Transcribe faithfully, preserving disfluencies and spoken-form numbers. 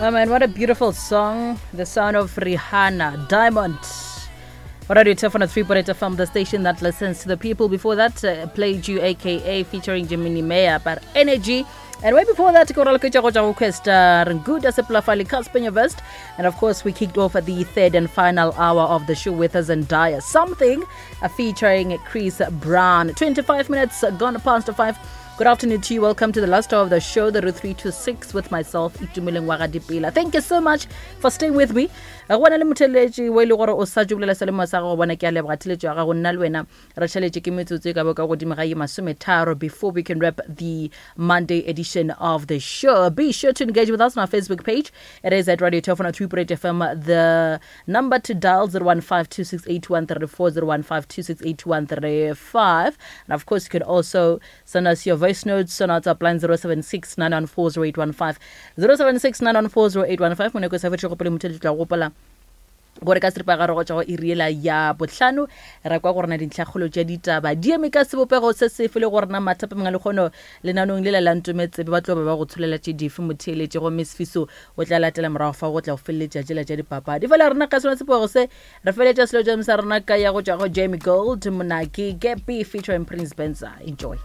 Oh man, what a beautiful song. The sound of Rihanna, Diamond. Radio Tefona three point eight F M, the station that listens to the people. Before that, uh, played you A K A featuring Jimmy Mayer, but Energy. And way before that, Koral Kucha Goja Request, uh, Ranguda Seplafali Kaspenya Vest. And of course, we kicked off at the third and final hour of the show with Zendaya. Something, uh, featuring Chris Brown. twenty-five minutes gone past five. Good afternoon to you. Welcome to the last hour of the show, the Route three to six, with myself, Itumeleng Wagadipela. Thank you so much for staying with me. Go na le motheletši o e le gore o sa tšo bolela se le mo sa gago, bona ke a leboga theletšo ya gago, nna le wena re tšhaletše ke metsotso e ka bo ka godimo ga ye masometharo before we can wrap the Monday edition of the show. Be sure to engage with us on our Facebook page. It is at Radio Telefona three point eight F M. The number to dial zero one five two six eight one three four, zero one five two six eight one three five. And of course, you can also send us your voice notes on our WhatsApp line zero seven six nine one four zero eight one five, zero seven six nine one four zero eight one five. Moneko sa fetše go pele motheletši tla gopola gore ka seripagare go tšwa go iri yela ya bohlano ra kwa gore na dintlhakgolo tša ditaba di eme ka sebopego se sefe le gore na mathapa mangwe le kgono lenanong lela la Ntometsebe ba tlo ba ba go tsholela tše dife motheeletše, gomme Sefiso o tla latela morago fa go tla go feleletša tšela tša dipapadi. Fela rena ka sona sebopego se re feletša selo tša sa rena ka ya go tšwa go Jamie Gold, Monaki, Gappy featuring Prince Benza. Enjoy.